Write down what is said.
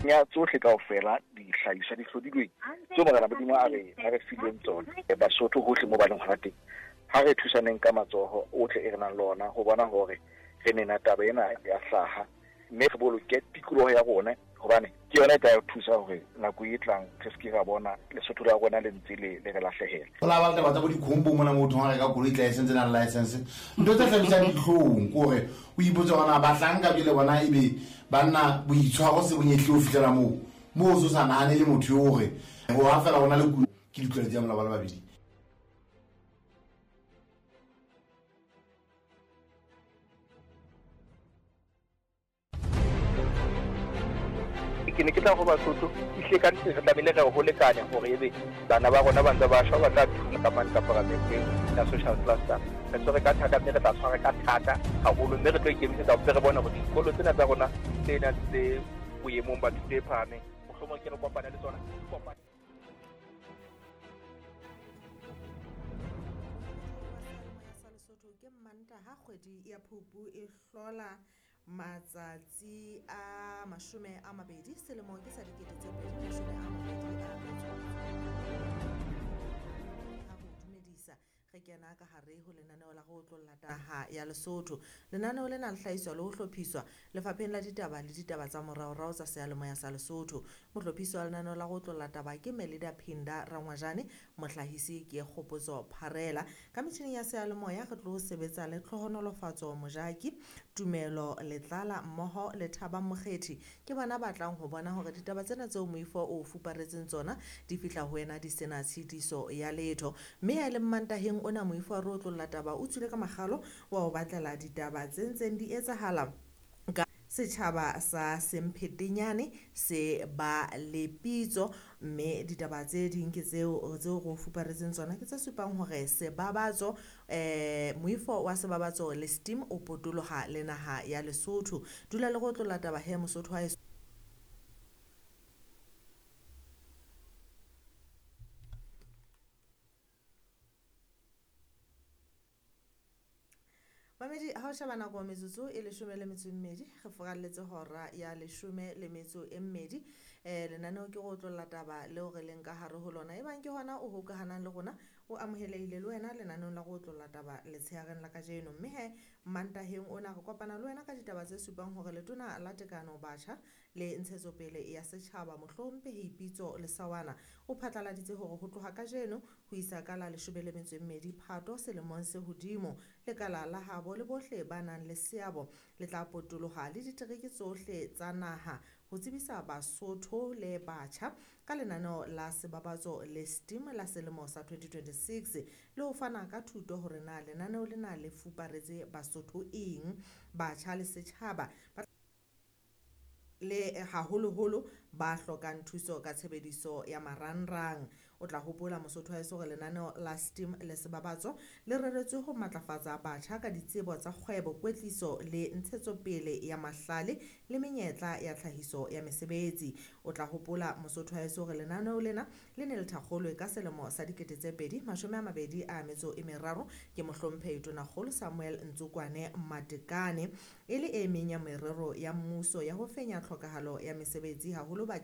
Ya tsohle kaofela dihlahiswa di hlodilweng tseo Morena Modimo a re fileng tsona. Basotho hohle mo ba leng hona teng, ha re thusaneng ka matsoho ohle e re nang le ona ho bona hore re nena taba ena ya hlaha, mme re boloke tikoloho ya rona, hobane ke yona e tla re thusa hore nako e tlang re se ke ra bona Lesotho la rona le ntse le re lahlehela. Ho la ba taba tsa bo dikhombo mona motho ha reka koloi tla e sentse nang license. Ntho tse hlabisang dihlong ke hore o ipotse hore na bahlanka jwale bona ebe banna boitshwaro se bonyehle ho fihlela moo moo o so sa nahane le motho eo hore ho ha fela hona le kulo ke ditlwaelo tsa molao ba le babedi. Ke ne ke tla ho Basotho ehlile ka nnete re tlamehile re ho lekane hore ebe bana ba rona ba ntse ba shwa, ba tla thuma ka mane ka paramenteng ya social cluster. Re tshwere ka thata mme re tla tshwara ka thata haholo, mme re tlo ikemisetsa hore re bone hore dikolo tsena tsa rona tse nang tse boemong ba thuto e phahameng mohlomong ke re kopane le tsona, kopane. Lesotho ke Mmantaha kgwedi ya Phupu e hlola matsatsi a 20 selemo ke sa 2022 ha go dumedisa re kena ka hare ho lenaneo la go otlolla taha ya Lesotho. Lenaneo lena le hlahiswa le ho hlophiswa lefapheng la ditaba le ditaba tsa moraorao tsa seyalemoya sa Lesotho. Mohlophisi wa lenaneo la go otlolla taba ke Melida Phinda Rangwajane, mohlahisi ke Kgopotso Pharela. Ka metjhining ya seyalemoya re tlo sebetsa le Tlhohonolofatso Mojaki, Tumelo Letlala mmoho le Thabang Mokgethi. Ke bona ba tlang ho bona hore ditaba tsena tseo moifo o fuparetseng tsona di fihla ho wena di sena tshitiso ya letho. Mme ya leng Mantaheng ona moifo wa re otlolla taba o tswile ka makgalo wa ho batlela ditaba tse ntseng di etsahala ka setjhaba sa Semphetenyane se ba le pitso, mme ditaba tse ding ke tseo tseo re o fuparetseng tsona ke tse supang hore sebabatso moifo wa sebabatso le steam o potoloha le naha ya Lesotho. Dula le go otlolla taba he Mosotho wa Mamedi, ha o sheba nako metsotso e 12 re furalletse hora ya 12. Lenaneo ke go otlolla taba leo re leng ka hare ho lona. Ebang ke hona o hokahanang le rona, o amohelehile le wena lenaneong la go otlolla taba letshehareng la kajeno. Mme he Mantaheng ona re kopana le wena ka ditaba tse supang hore letona la tekano batjha le ntshetsopele ya setjhaba Mohlomphehi Pitso Lesawana o phatlaladitse hore ho tloha kajeno ho isa ka la 12 Phato selemong se hodimo lekala la habo le bohle ba nang le seabo le tla potoloha le ditereke tsohle tsa naha ho tsebisa Basotho le batjha ka lenaneo la sebabatso le steam la selemo sa 2026 le ho fana ka thuto hore na lenaneo lena le fuparetse Basotho eng, batjha le setjhaba le haholoholo ba hlokang thuso ka tshebediso ya marangrang. O tla hopola Mosotho wa heso hore lenaneo la steam le sebabatso le reretswe ho matlafatsa batjha ka ditsebo tsa kgwebo, kwetliso le ntshetsopele ya mahlale le menyetla ya tlhahiso ya mesebetsi. O tla hopola Mosotho wa heso hore lenaneo lena le ne le thakgolwe ka selemo sa 2023 ke Mohlomphehi Tonakgolo Samuel Ntsokwane Matekane, e le e meng ya merero ya mmuso ya ho fenya tlhokahalo ya mesebetsi haholo batjheng.